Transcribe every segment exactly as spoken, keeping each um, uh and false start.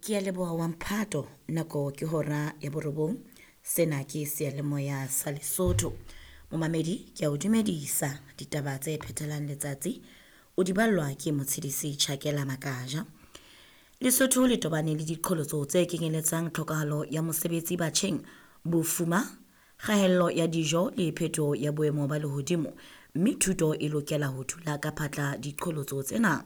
Ke a leboha wa mphato nako ke hora ya borobong. Sena ke seyalemoya sa Lesotho. Momamedi ke a o dumedisa ditaba tse phethelang letsatsi o di ballwa ke Motshidisi Chakela Makaja. Lesotho le tobane le diqholotso tse kenyeletsang tlhokahalo ya mosebetsi batjheng, bofuma, kgaello ya dijo le phetoho ya boemo ba lehodimo, mme thuto e lokela ho thula ka phatla diqholotso tsena.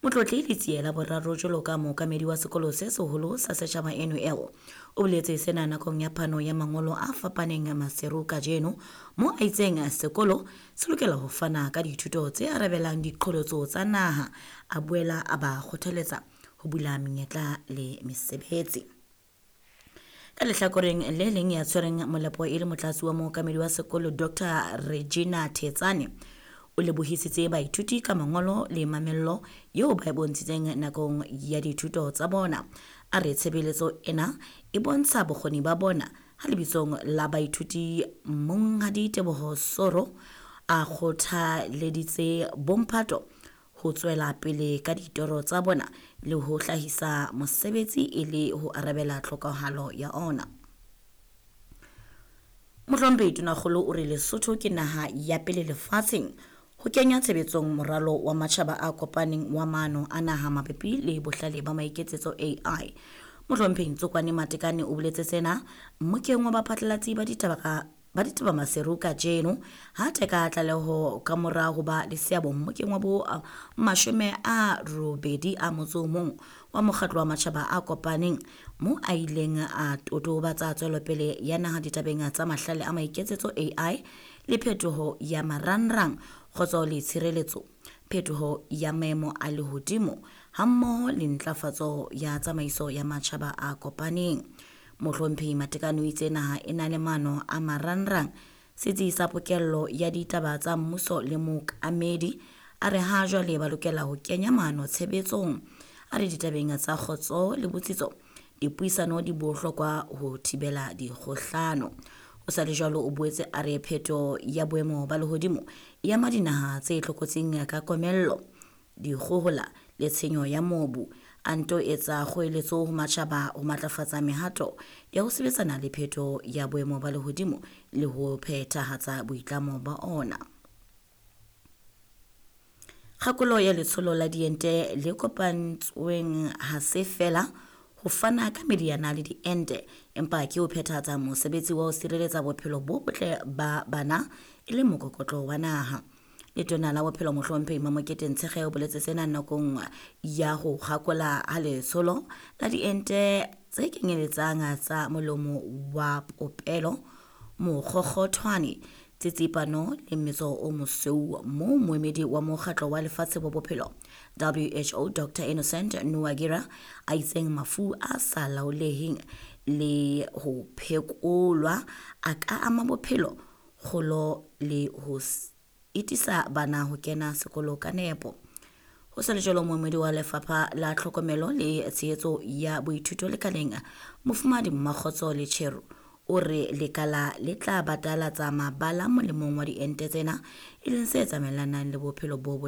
Motlotli Letsie la boraro jwalo ka mookamedi wa sekolo se seholo sa setjhaba N U L o boletse sena nakong ya phano ya mangolo a fapaneng Maseru kajeno, mo a itseng sekolo se lokela ho fana ka dithuto tse arabelang diqholotso tsa naha, a boela a ba kgothaletsa ho bula menyetla le mesebetsi. Ka lehlakoreng le leng ya tshwereng molepo e le motlatsi wa mookamedi wa sekolo Doctor Regina Thetsane o lebohisitse baithuti ka mangolo le mamello eo ba e bontshitseng nakong ya dithuto tsa bona. A re tshebeletso ena e bontsha bokgoni ba bona ha lebitsong la baithuti Monghadi Teboho Soro a kgothaleditse bomphato ho tswela pele ka ditoro tsa bona le ho hlahisa mosebetsi e le ho arabela tlhokahalo ya ona. Mohlomphehi Tonakgolo o re Lesotho ke naha ya pele lefatsheng ho kenya tshebetsong moralo wa matjhaba a kopaneng wa maano a naha mabapi le bohlale ba maiketsetso A I. Mohlomphehi Ntsokoane Matekane o boletse sena mmokeng wa baphatlalatsi ba ditaba ka ba ditaba Maseru kajeno ha teka tlaleho ka mora ho ba le seabo mmokeng wa bo mashome a robedi a motso o mong wa mokgatlo wa matjhaba a kopaneng mo a ileng a totobatsa tswelopele ya naha ditabeng tsa mahlale a maiketsetso A I le phetoho ya marangrang, kgotso le tshireletso, phetoho ya maemo a lehodimo hammoho le ntlafatso ya tsamaiso ya matjhaba a kopaneng. Mohlomphehi Matekane o itse naha e na le maano a marangrang, setsi sa pokello ya ditaba tsa mmuso le mookamedi a re ha jwale ba lokela ho kenya maano tshebetsong. A re ditabeng tsa kgotso le botsitso dipuisano di bohlokwa ho thibela dikgohlano. Ho sa le jwalo o boetse a re pheto ya boemo ba lehodimo e ama dinaha tse tlokotsing ka komello, dikgohola le tshenyo ya mobu. A nto etsa kgoeletso ho matjhaba ho matlafatsa mehato ya ho sebetsana le pheto ya boemo ba lehodimo le ho phethahatsa boitlamo ba ona. Kgakolo ya letsholo la diente le kopantsweng ha se fela ho fana ka meriana le diente, empa ke ho phethahatsa mosebetsi wa ho sireletsa bophelo bo botle ba bana e le mokokotlo wa naha. Letona la bophelo Mohlomphehi Mamokete Ntshekge o boletse sena nakong ya ho kgakola ha letsholo la diente tse kenyeletsang tsa molomo wa popelo, mokgokgothwane, tsitsipano le mmetso o mosweu moo moemedi wa mokgatlo wa lefatshe wa bophelo W H O Doctor Innocent Nuwagira a itseng mafu a sa laoleheng le ho phekolwa a ka ama bophelo, kgolo le ho itisa bana ho kena sekolo ka nepo. Ho sa le jwalo moemedi wa lefapha la tlhokomelo le tshehetso ya boithuto lekaleng Mofumahadi Mmakgotso Letshero o re lekala le tla batalatsa mabala molemong wa diente tsena e leng se tsamaelanang le bophelo bo botle.